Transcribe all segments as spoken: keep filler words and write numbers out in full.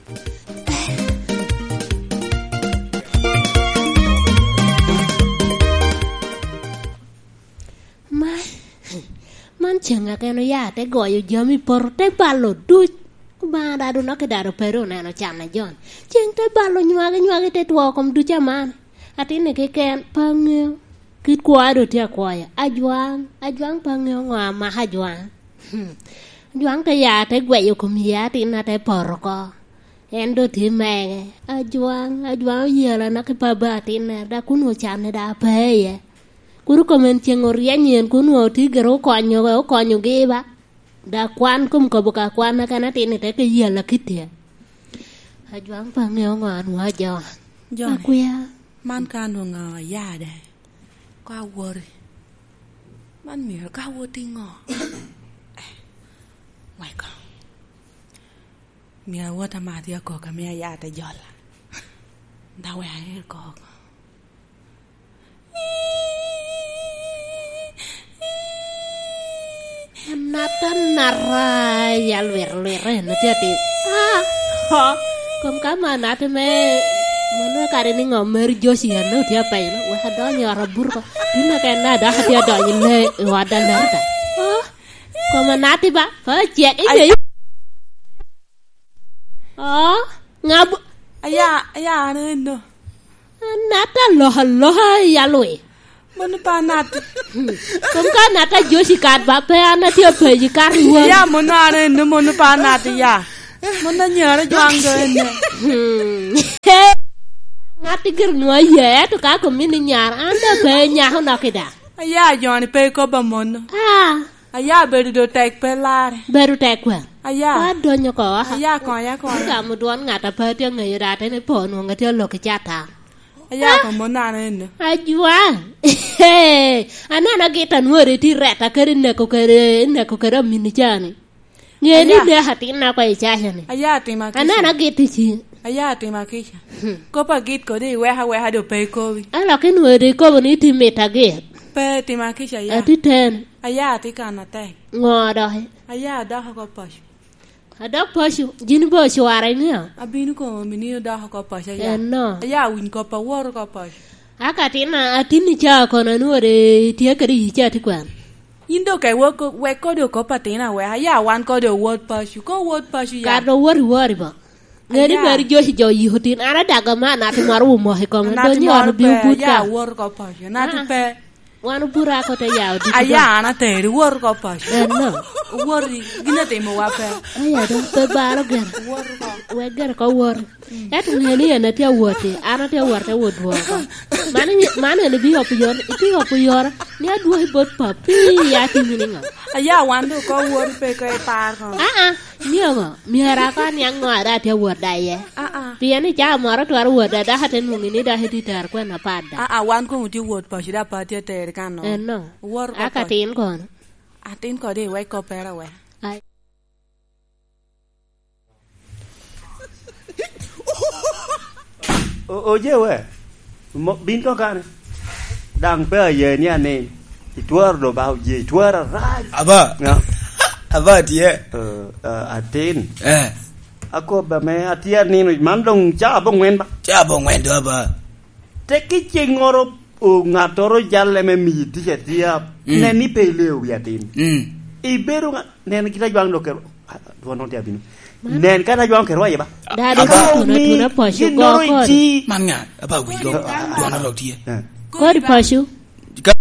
Man, man ceŋ aken oya te goyo jami i poto, te balo duc. Obaŋa dado nok i dado pe ru oneno can a Jon. Ceŋ te balo nywagi, nywagi te two kom duc aman. Atinni keken pe aŋeo. Kit kwoya doŋ tye akwoya. Ajwaŋ, ajwaŋ pe aŋeo ŋo amako ajwaŋ. Hmm. Ajwaŋ te ya te gweyo kom yie atinna te poto oko. En doŋ tye mege. Ajwaŋ, ajwaŋ oyela nok i paba atinna, dok onwoŋo canne daŋ pe iye. Kun kome en ceŋ oryeny en, kun onwoŋo tye gire okonyo, okonyogi ba. Dok kwan kom kobo ka kwan, akan atinni te ke yela kitte. Ajwaŋ pe aŋeo ŋo anwoŋo ajo. Joni, akwia. Man ka anwoŋo aya de, ka awoti. Man myero ka awot i ŋo? Eh, weko. Myero awot ama atye akok, ame aya te jola. Da wek aer kok. Anata, anata, ya lwit, lwit, en tye atir. Ah, ho. Kom ka ma anata me, mano kare ni ŋo, Mary Josie, en otye apenyo, wek adony i ot abuto ko. Tin aka en adaka tye adonyo i le, i ot Alerta. Oh, kom anata ba, pa cek, i Ay. Ngeyo. Oh, ŋa bu- Aya, aya, an eno. Anata aloka aloka i alwi. Mano pe anat. Hmm. Kom ka anata Josi kat ba pe an atye apeji kat i won. Ya, mano an eno, mano pe anat, ya. Mano anyara jwaŋ do ene. Hmm. Ŋat i gire nwa ye, ento ka komi ni nyar, an da pe nyako nok i da. Aya, joni pe ikoba mono. Ah. Aya, bedo do tek pe lare. Bedo tek kwen? Aya. Wa donyo ko, aka. Aya, konya, konya. Gamo dwon ŋat a pe atye aŋeyo da, ateni po nwoŋo atye alok i cata. Aya, ah, komo nano eno. Ajwa. Aneno agit anwori ti reta kede neko kede, neko kede amini cani. Ŋe ni aya. Neko atinna kwa i caca ni. Aya, atima kica. Aneno agit i ci. Aya, atima kica. Hmm. Kop agit kodi iweka weka do pe ikobi. Alok inwori ikobo ni iti mit agit. Pe tima kica ya. Ati ten. Aya, ati kan atek. Ŋo doki? Aya, adok oko paco. Adok paco? Jin bo ocwara iŋeo? Abino komo mini odok oko paco aya. Eno. Aya, awiny kop awot oko paco. Aka atin, atin i caa kono anwori itye kede yi caa ti kwan? Yin dok ka iwek, wek kodi okop atin awek, aya wan kodi owot paco. Ka owot paco ya. Kara owot iwori bo. Ŋe ni aya. Meri Joci jo yiko tin, an adaga ma anat moro omoko i kome, anat donyo moro ot obio pe, but aya ka. Wot oko paco, anat ah. Pe. Wan obuto ako te ya odiko. Aya, an ateri, wot oko paco. Eno. Wot i, gin atimowa pe. Aya, dok pe balo gire. Wot oko. Wek gire ko wot. Mm. Ento ŋe ni en atye awot i, an atye awot te wot dwoko. Man, man en ibio opo yore, ibio opo yore, ni adwoki bot papi, ya timi ni ŋo? Aya, wan dok ko wot pe ko ipar ko. Ah, ah. Myero ŋo? Myero aka niaŋ ŋo a dok atye awot da iye? Aa. Pien i caa moro twero wot da, dok ate nwoŋi ni dok itye i tero kwena apat da. Aa, wan koŋ otye wot paco, dok pe atye ateri kan no. Eno. Wot oko aka paco. Atin kono? Atin kodi iwek koppere wek. Ai. O-, oje we. Mo-, bin to kane. Daŋ pe aye ni anin. Itwero do ba oje, itwero arac. Aba. Ya. Aba tye. Eh, eh, atin. Eh. Akoba me atye anino, man doŋ caa aboŋwen ba? Caa aboŋwen do aba. Tek i ceŋŋoro, o, ŋattoro jalle me miyi tic atia, mm, nen ni pe ileo wi atin. Mm. Ibedo ŋa-, nen kit ajwaŋ dok kero, ah, dwon dok tye abino. Man. Nen kata ajwaŋ kero aye ba? Dado aba. Ka otuna omi tuna paco ginnoro go kodi. Iti. Man ŋa? Aba wi go. Dwon dok tye. Eh. Kodi paco. Ka-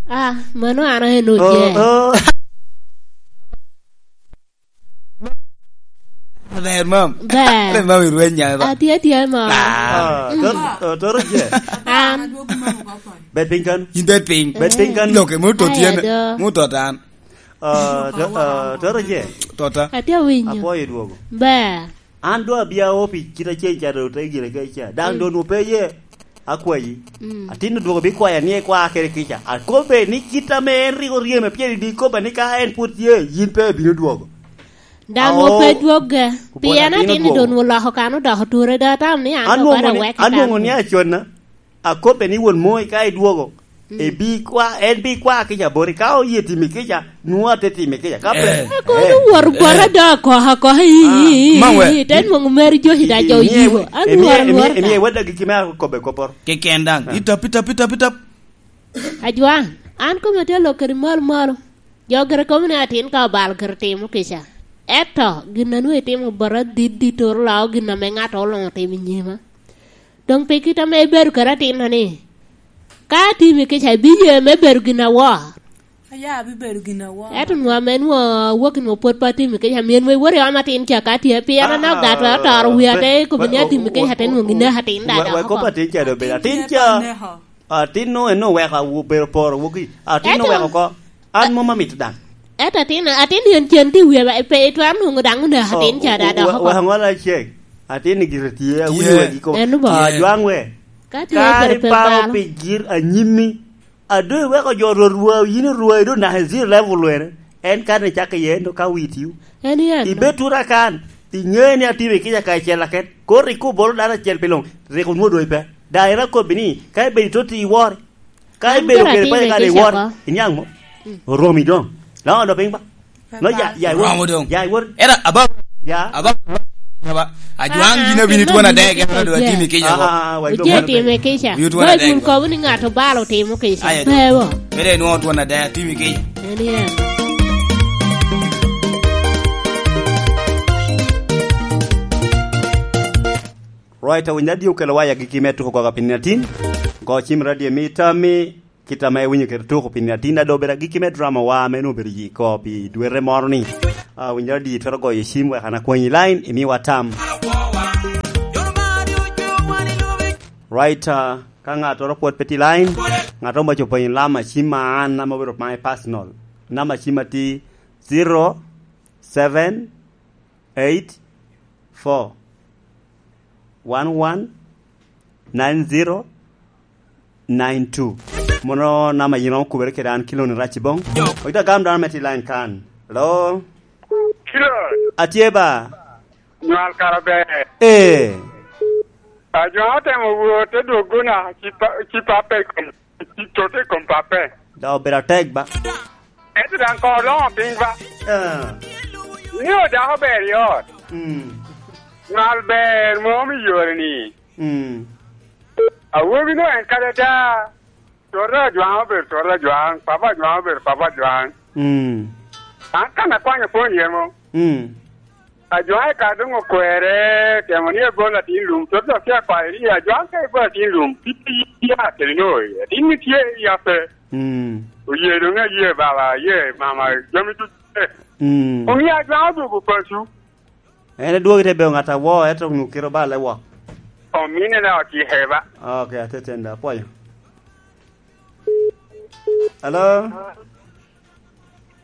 Ah, mano an aye no je. Oh, oh. Ber, mam. Ber. Ber, mam, irweny nya, ba. Atye, atye, mam. Ah. Ah, mm, tor-, ah, toro je. An. Bet piny kan. In bet piny. Bet piny kan. Lok, emo tot yen. Aye do. Mo tot an. Ah, to-, ah, toro je. Tota. Atye awinyo. Apwoyo dwogo. Ber. An doŋ abia o pi kit acel ca doŋ te gire kec ca. Daŋ mm, doŋ onwoŋo pe ye. Akwayi. Mm. Atin odwogo bikwaya ni ekwa kede kica. Akobbe ni kit ame en rik oryeme pien idi kobba ni ka en pwod tye, yin pe ibino dwogo. Daŋ onwoŋo pe dwogge. Pien atin odwogo. Doŋ oloko kan odoko ture, doŋ atamo ni an doŋ bada wek i kan. Anwoŋo ni aconna. Akobbe ni won moi ka idwogo, Mm. Ebi kwa, en bi kwa kica boti. Ka oye timi kica, nwoŋo ate timi kica. Ka pe, eh. Ako eh, ni wor gwara eh. Da akoha akoha i, ah, i, i, ma we. I, te nwoŋo meri jo i da jo yigo. An wor gwara. Emi, emi, emi wadda giki me akobe koporo. Keken daŋ. Ah. Itap, itap, itap, itap. Ajwaŋ, an kome tye lok kede malo malo. Jo gire kobo ni atin ka obalo gire timo kica. Eto, gin a nwoŋo itimo bot adit dit oro lao gin ame ŋato oloŋo timo i nyima. Doŋ pi kit ame ibedo kede atinno ni, ka atimi kica, ibiye me bedo gin awor. Aya, abibedo gin awor. Ento nwa ame nwa awok nwa pwod pe atimi kica, myero nwa iwot i om atin ca ka tye, pien anok da atwero toro wi ate ikobo ni atimi kica, te nwa gineko atin da dok oko. Wek kop atin ca dobedo atin ca. Atin nwa en oweko awo-, bedo poro woki. Atin oweko oko. An mom amito daŋ. Ento atin, atin en cen tye i wiye ba, pe itwero nwoŋo daŋ oneko atin ca da dok oko. Wek aŋola cek. Atin ni gire tye, awinyo wegi kop. En bo. Ajwaŋ we. Ka tye kare pe paro balo. Pi gir anyimmi. A doŋ iweko jo rwot rwa, yin irwa, i doŋ naka i zero level wene. En kan icak iye, en doŋ ka witi. En yen. Ibed tura kan, iŋe ni atimo i kica kacel aket. Kor rik obolo dano acel pi luŋ, rik onwoŋo doŋ ipe. Daŋ en akobbi ni, ka ibedo i toti iwor. Ka ibedo kede paco kan iwor, iniaŋ mo? Mm. Oromi doŋ. Laŋo doŋ piny ba? No, ya, ya, iwor. Oromo doŋ. Ya, iwor. Era, aba-, ya. Aba-, aba-, ajwaŋ yin abin itwon adek, en adu atimi kica. Ah, ah, ah, wek doŋ. Oje time kica. Oye twon adek. Wek wun kobo ni ŋat obalo timo kica. Aye, bebo. Mede inwoŋo twon adek, atimi kica. En yen. Right, awinyo radio okelo waya giki me tuko koko pi nino atin. Go cim radio mi tami. Kit ame iwinyo kede tuko pi nino atin, ado obedo agikki me drama wa ame onwoŋo obedo yi ko pi dwete moro ni. Ah, winyo adi itwero goyo cim wek an akwanyi line, imiwa tam. Right, ah, ka ŋattoro pwod pe tye line, ŋattoro maco penyo lama cim ma an ame obedo mae personal. Namba cim atye zero seven eight four one one nine zero nine two. Mono namba yin romo kubere kede an Kiloni Rac i Bong. Oyito agam dano me tye line kan. Hello? Kilon. Atye ba? Nywal kara ber. Eh. Ajwaŋ otemo wot te dwogona, ci pa-, ci pape i kom, ci tote i kom pape. Da obedo atek ba? Ento daŋ koŋ oloŋo piny ba? Ah. Ni odako ber i ot. Mm. Nywal ber mom i yore ni. Mm. Awobi no en kade da. Tota Ajwaŋ obedo Tota Ajwaŋ, Papa Ajwaŋ obedo Papa Ajwaŋ. Mm. An kan akwanyo pwony yemo. Mm. Ajwaŋ i kare doŋ okwere, temo ni ebol atin lum, Tota dok tye akwayo ni Ajwaŋ ka ibol atin lum, pi, pi, pi, ya kede no, atin ni tye i yape. Mm. Oye doŋ aye baba, aye mama, jami ducu. Mm. Omio Ajwaŋ odwogo paco. En edwogo te bedo ŋat awo, ento onwoŋo kite obale wok. Omine na ocike ba. Ok, atetenda, apwoyo. Hello?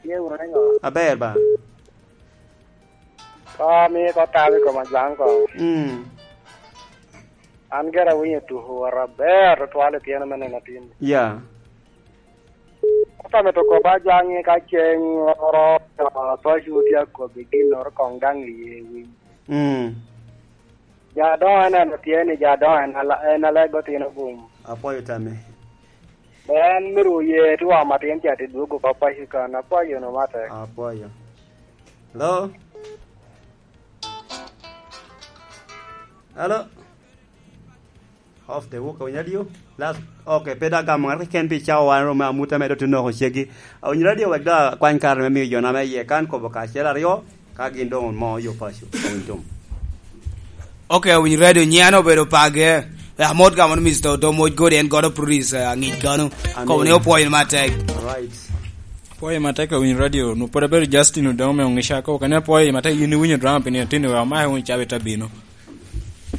Ye wuro ŋo? Aber ba. Ko mi ko tawi koma jwaŋ ko. Mm. An gera awinyo tuko woro aber tutwal i tyeno me neno atin. Ya. Ata mito kop Ajwaŋ ni ka ceŋ oro, paco tye akobbi ginnoro koŋ daŋ iye winy. Mm. Ja doŋ aneno tye ni ja doŋ en ala-, en alego tino gum. Apwoyo tami. En myero oye ti wamo atin ca ti dwogo oko paco kan. Apwoyo no mate. Apwoyo. Hello? Hello? Off the work, awinyo radio? Last, ok, pe dok gamo ŋat keken pi cawa wan, romo amut ame dok tye noko ceggi. Awinyo radio wek dok akwany kare me miyo jo na me iye kan kobo kacel aryo, ka gin doŋ mo yo paco, awiny tum. Ok, awinyo radio, nyian obedo page. Amot gamo ni Mister Odomo Godi en godo produce, eh, aŋic gano. Amen. Kobo ni opwoyo matek. Alright. Apwoyo matek awinyo radio, nu pwod abedo Justin Odomo me Oŋica, kobo kane apwoyo matek yin iwinyo drama pi nino atin, we amaye wunu cawa ite abino.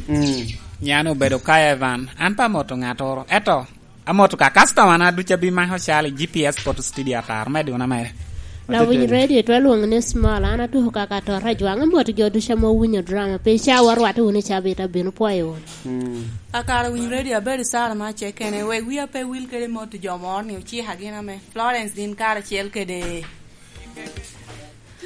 Mm. Nyan obedo ka Evan. An pe amoto ŋattoro. Eto, amoto ka customer na ducu abimako cal i G P S Photo Studio Atar, me duna mere. Lawiny radio, itwa lwongo ni Small. An atuko kaka Ator Ajwaŋ. Amoto jo ducu ame owinyo drama. Pi cawa orwatte wunu i cabit abino pwoyo wunu. Mm. Akara winy radio, abedo Sara ma Cekene. Wek wia pe wil kede moto jo moro ni ocika gin ame Florence din karacel kede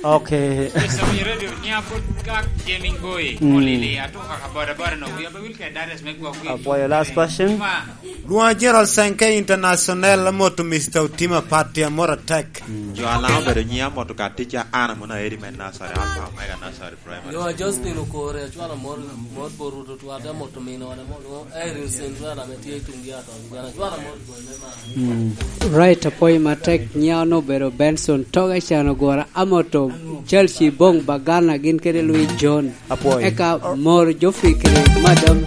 Ok. Yes, Awinyo Radio, nya pwod Gak Jaming Boy, mm, Molili, ato kaka boda boda no, wi abe wil ke Darius me gwok wi. Apwoyo, last question. Ma. Lwonga General Senke International, amoto Mister Otima Party, amoro atek. Mm. Jo a Laŋo obedo nyiŋ, amoto ka tica an amono Aeri me Nasari, Alpha Omega Nasari Primary. Lwonga Josephine Okore, acwalo mot, mot bot Rwot otwal, te amoto mino wane mo, lwongo Irene Sendwela ame tye i tuŋ Diato, Uganda, acwalo mot bot me mar. Mm. Right, apwoyo matek. Nyiŋa onongo obedo Benson Toga, can ogwora, amoto Chelsea Bong Bagana, gin kede Louis John. Apwoyo. Eka mor Geoffrey kede Madam.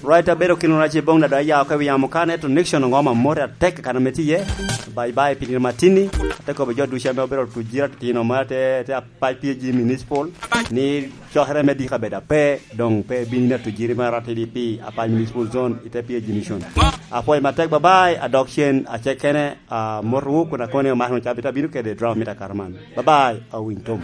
Right, abedo kino rac i Bong Dada, ya oko i wi yamo kane, to Nixon Ngoma, mot atek kan ame tye iye. Bye bye, Pinil Matini. Ate kobo jo ducu ame obedo tuc gira tino ma te, te apac P G Municipal. Ni cokere me dika bedo ape, dong pe bino ina tujiri me R T D P, Apac Municipal Zone, ite P H G Mission. Apwoyo matek, bye bye, adok cen, acek kene, ah, motowu kun akone omako cabit abino kede drama mit akaraman. Bye bye, awiny tom.